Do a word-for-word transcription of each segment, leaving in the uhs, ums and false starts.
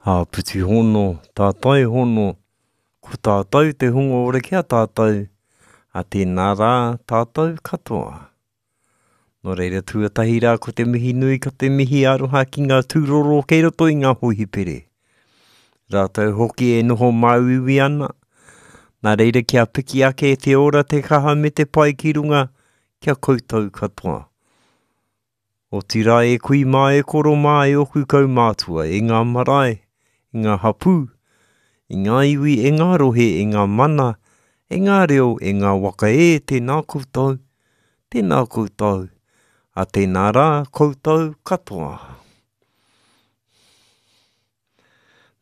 Āpiti hono, tātai hono, ko tātou te hunga ora ki a tātou, a tēnā rā tātou katoa. Nō reira tuatahi rā ko te mihi nui, ko te mihi aroha ki ngā tūroro kei roto i ngā hohipere. Rātou hoki e noho māuiui ana, nā reira kia piki ake te ora, te kaha me te pai ki runga kia koutou katoa. Otirā e kui mā, e koro mā, e oku kaumātua, e ngā marae, e ngā hapū, e ngā iwi, e ngā rohe, e ngā mana, e ngā reo, e ngā waka e, tēnā koutou, tēnā koutou, a tēnā rā koutou katoa.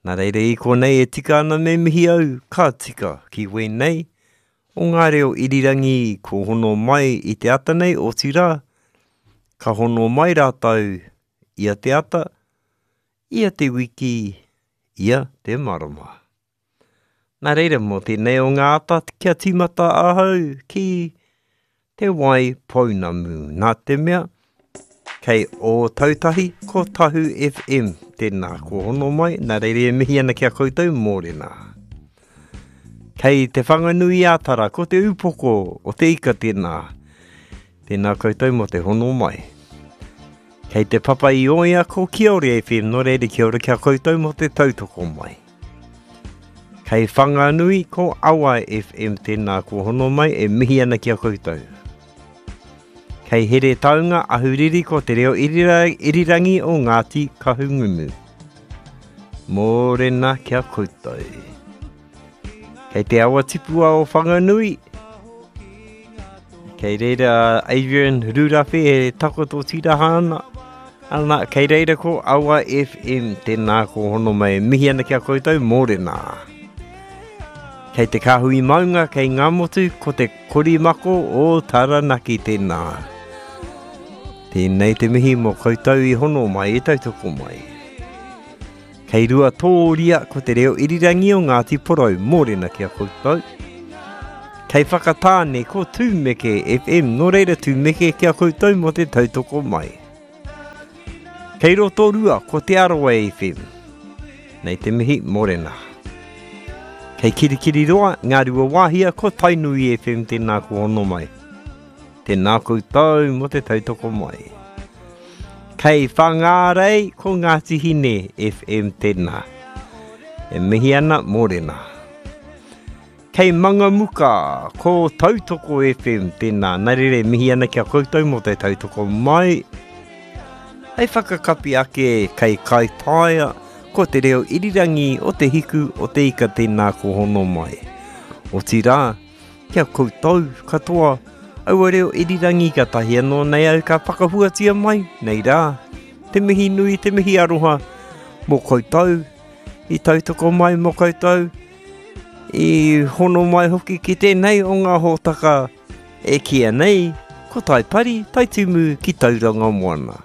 Nā reira i konei e tika ana me mihi au, ka tika ki wēnei o ngā reo irirangi ko hono mai i te ata nei, otirā, ka hono mai rātou ia te ata, ia te wiki, ia te marama. Nā reira mō tēnei o ngā ata kia tīmata ahau ki Te Wai Pounamu. Nā te mea, kei Ōtautahi ko Tahu F M. Tēnā, ko hono mai, nā reira e mihi ana ki a koutou, mōrena. Kei Te Whanganui-ā-Tara, ko te upoko o te ika tēnā. Tēnā koutou mō te hono mai. Kei te papa i oia ko Kiore F M, nō reira kia ora ki a koutou mō te tautoko mai. Kei Whanganui ko Awa F M, tēnā ko hono mai e mihi ana ki a koutou. Kei Heretaunga Ahuriri ko te reo irira, irirangi o Ngāti Kahungunu. Mōrena ki a koutou. Kei te awa tipua o Whanganui, kei reira Adrian Rurawhe e takoto tiraha ana. Ana, kei reira ko Awa F M, tēnā ko hono mai, mihi ana ki a koutou, mōrena. Kei te kāhui maunga, kei Ngāmotu, ko te korimako o Taranaki tēnā. Tēnei te mihi mō koutou i hono mai, i tautoko mai. Kei Ruatōria, ko te reo irirangi o Ngāti Porou, mōrena ki a koutou. Kei Whakatāne, ko Tūmeke F M, nō reira Tūmeke ki a koutou mō te tautoko mai. Kei Rotorua, ko Te Arawa F M. Nei te mihi, mōrena. Kei Kirikiriroa, Ngā Rua Wāhia, ko Tainui F M, tēnā ko hono mai. Tēnā koutou mō te tautoko mai. Kei Whangārei, ko Ngāti Hine F M tēnā. E mihi ana, mōrena. Kei Mangamuka, ko Tautoko F M tēnā. Nā reira e mihi ana ki a koutou mō te tautoko mai. Hei whakakapi ake kei Kaitaia, ko te reo irirangi o te hiku o te ika tēnā ko hono mai. Otirā, kia koutou katoa, aua reo irirangi ka tahi anō nei au ka whakahuatia mai, nei rā, te mihi nui, te mihi aroha mō koutou, i tautoko mai mō koutou, i hono mai hoki ki tēnei o ngā hōtaka e kīia nei, ko Taipari, Taitimu ki Tauranga Moana.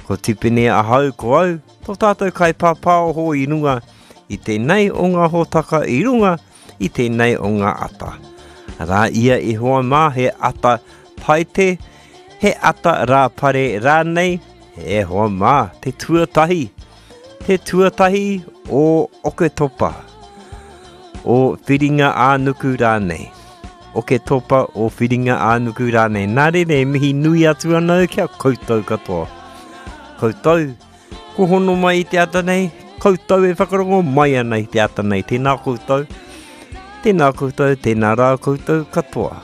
Ko Tipene ahau ko au, tō tātou kaipāpāoho i runga i tēnei o ngā hōtaka i runga i tēnei o ngā ata. Rā ia i hoa mā he ata paite, he ata rāpare rānei, e hoa mā, te tuatahi, te tuatahi o Oketopa, o Whiringa ā-nuku rānei. Oketopa o Whiringa ā-nuku rānei. Nā reira e mihi nui atu ana au ki a koutou katoa. Koutou, ko hono mai i te ata nei, koutou e whakarongo mai ana i te ata nei. Tēnā koutou, tēnā koutou, tēnā rā koutou katoa.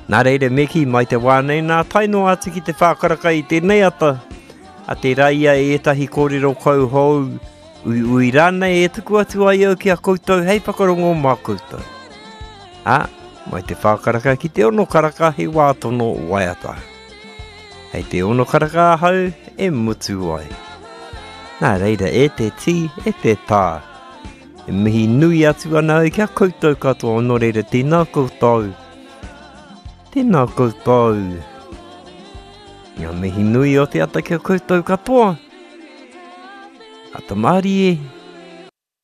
Nā reira me kī mai te wā nei nā tae noa atu ki te whākaraka i tēnei ata, a tērā ia e ētahi kōrero kauhou, uiui rānei e tuku atu ai au ki a koutou hei whakarongo mā koutou. Ā, mai te whākaraka ki te ono karaka he wā tono waiata. Hei te ono karaka ahau e mutu ai. Nā reira e te tī, e te tā. E mihi nui atu ana au ki a koutou katoa, nō reira tēnā koutou. Tēnā koutou. Ngā mihi nui o te ata ki a koutou katoa. Ata mārie.